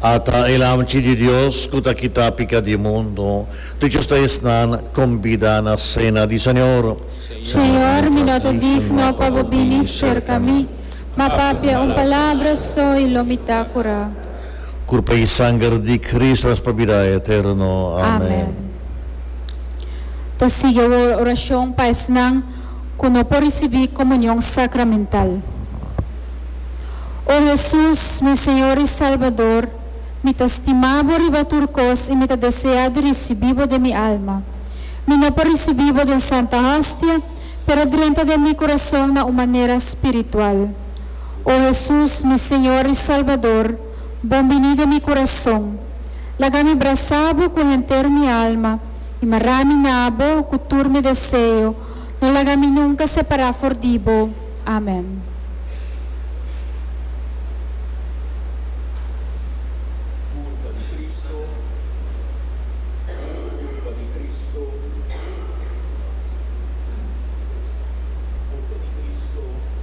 Ata e Lamchi di Dios ku ta kita pika di mundu. Dichoso ta esnan kombidá na sena di Señor. Señor, mi no ta digno pa bo bini serka mi, ma papia un palabra so i lo mi ta kurá. Kurpa i sanger di Cristo nos pa bida eterno. Amen. Ta sigui awor orashon pa esnan ku no por risibí komunion sakramental. O Hesus, mi Señor i Salbador, mi ta stima Bo riba tur kos i mi ta deseá di risibí Bo den mi alma. Mi no por risibí Bo den Santa Hostia, pero drenta den mi kurason na un manera spiritual. O Hesus, mi Señor i Salbador, bon biní den mi kurason. Laga mi brasá Bo ku henter mi alma i mará mi na Bo ku tur mi deseo. No laga mi nunka separá for di Bo. Amen.